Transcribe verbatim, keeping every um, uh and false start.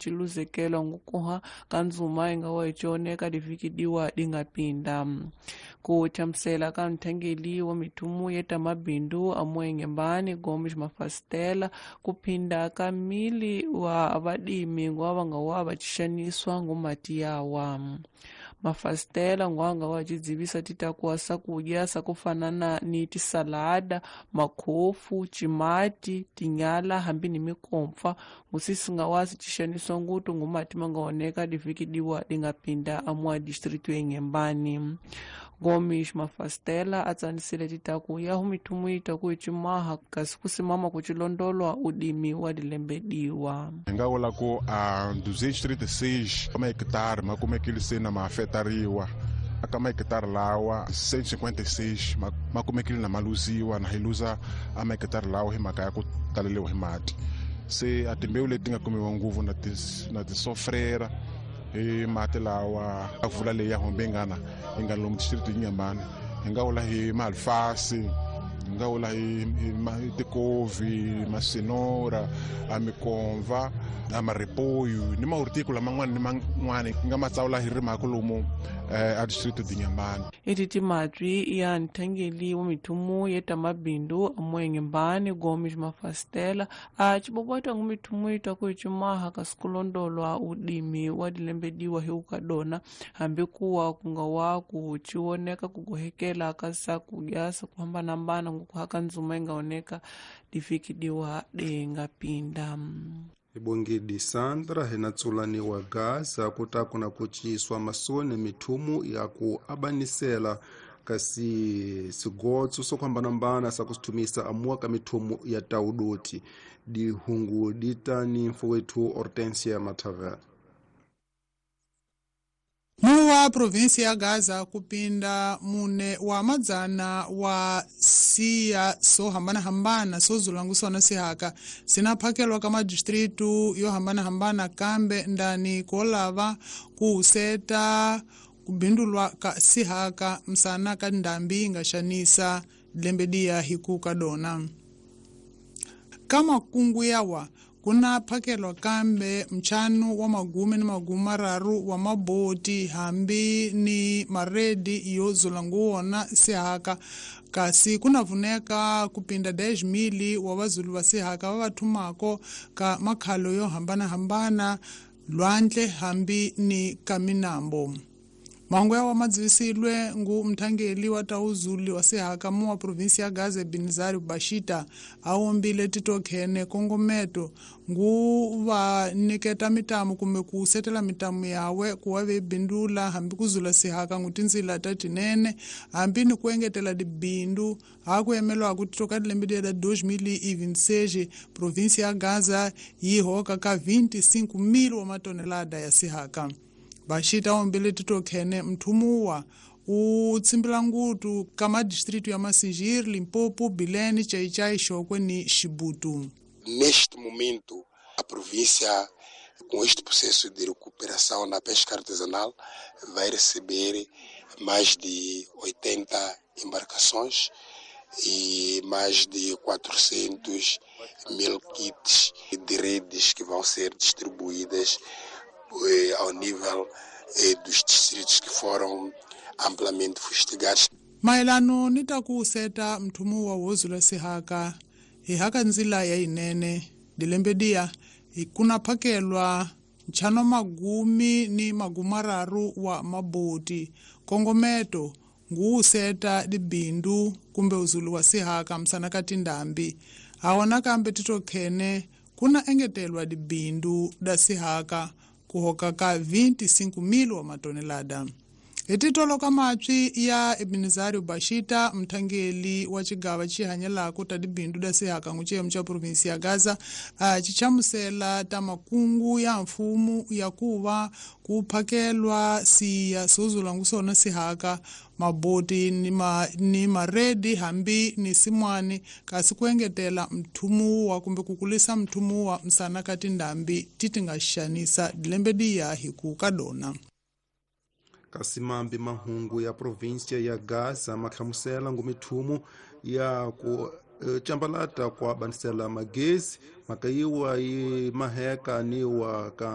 Ciluzekela ngukuha kanzuma ingawa icioneka divikidiwa dingapinda kuchamusela ka nthangeli wa mithumu yeta mabindu amuengembani Gomes Mafastela kuphinda ka mili wa vadimi ngwa va nga wa va cixaniswa ngumati yawa Mafastela ngwanga wa cidzivisa titakuwa sakudya sakufanana ni tisalada makhofu cimati tinyala hambi ni mikompfa ngusisi nga wa sicixaniswa ngutu ngumati mangaoneka divikidiwa dingapinda amua distrito engembani Gomes Mafastela atsanisile titaku yahu mithumu itaku icimaha kasi kusimama kucilondolwa udimi wa dilembediwa hi nga vula ku a duzentos e trinta e seis mahekitare ma kumekile se na ma afetariwa aka mahekitare lawa cento e cinquenta e seis ma kumekile na ma luziwa na hi luza a mahekitare lawa hi mhaka ya ku taleliwa hi mati se a timbewu leti nga kumiwa nguvu na ti na ti sofrera hi mati lawa a vula leyi ya hombengana hi nga lomu distrito Inhambane hi nga vula hi maalfasi hi nga vula hi hi tikovi masinora a mikomva a maripoyu ni mahorticola man'wana ni man'wana hi nga ma tsawula hi rimaka lomu a distrito Inhambane eti timatwi ya nthangeli wa mithumu yeta mabindu amuengembani Gomes Mafastela a cibobota ngu mithumu itaku icimaha kasi kulondolwa udimi wa dilembediwa hi ukadona hambi kuwa kunga wa ku cioneka kugohekela ka sakudya sakuhambanahambana ngukuhaka nzuma ingaoneka divikidiwa dingapinda Ibongedi Sandra hinatsulaniwa Gaza kutaku na kuciswa masone mithumu ya ku abanisela kasi sigotso sokuhambanambana sakusithumisa amua ka mithumu ya taudoti dihungu ditani mfowethu Hortensia Matavela Muwa provinsi ya Gaza kupinda mune wa madzana wa siya so hambana-hambana so zulangusona sihaka sinaphakelwa ka madistritu yo hambana-hambana kambe ndani kolava kuhuseta kubindulwa ka sihaka msana ka ndambi ingaxanisa lembe hikuka dona ka makungu yawa kuna phakelwa kambe mchanu wa magume ni magume mararu wa maboti hambi ni maredi yo zulanguwona sihaka kasi kunavuneka kupinda dez mili wa vazulu va sihaka va va thumako ka makhalo yo hambanahambana lwandle hambi ni ka minambo mahungu yawa madzivisilwe ngu mthangeli wa tauzuli wa sihaka mu wa provinsi ya Gaza Binzari Bashita awombile titokhene kongometo ngu va niketa mitamu kumbe ku setela mitamu yawe kuwa ve bindula hambi kuzula sihaka ngu tindzila ta tinene hambi ni ku engetela dibindu ha ku yemelwaku titoka dilembe da dois mil e vinte e seis provinsi ya Gaza yi hoka ka vinte e cinco mil wa matonelada ya sihaka Bashita ombile titokhene mthumuwa u tsimbila ngutu ka madistritu ya Massingir, Limpopo, Bilene, Chaichai, Chokwe ni Chibutu. Neste momento, a província, com este processo de recuperação na pesca artesanal, vai receber mais de oitenta embarcações e mais de quatrocentos mil kits de redes que vão ser distribuídas ao nível eh, dos distritos que foram amplamente fustigados. Maelano ni ta ku seta mthumu wa wozula sihaka hi haka ndzila ya yinene dilembe kuna phakelwa nchano magumi ni magumararu wa maboti kongometo ngu seta dibindu kumbe uzulu wa sihaka msana ka tindambi awona kambe titokhene kuna engetelwa dibindu da sihaka kuhoka ka vinte e cinco mil wa matonelada Etitolo ka matwi ya Ebenezario Bashita mthangeli wa cigava cihanyelako ta dibindu da sihaka nguciyemu ca provinsi ya Gaza uh, cichamusela ta makungu ya mfumu ya kuva kuphakelwa siya sozula ngusona sihaka maboti ni, ma, ni maredi hambi ni simwani kasi kuengetela mthumuwa kumbe kukulisa mthumuwa msana ka tindambi titi nga xanisa dilembe diya hiku ka dona. Kasi mambi mahungu ya província ya Gaza mahlamusela ngumithumu ya ku e, chambalata kwa banisela magezi makayiwa yi maheka ni wa ka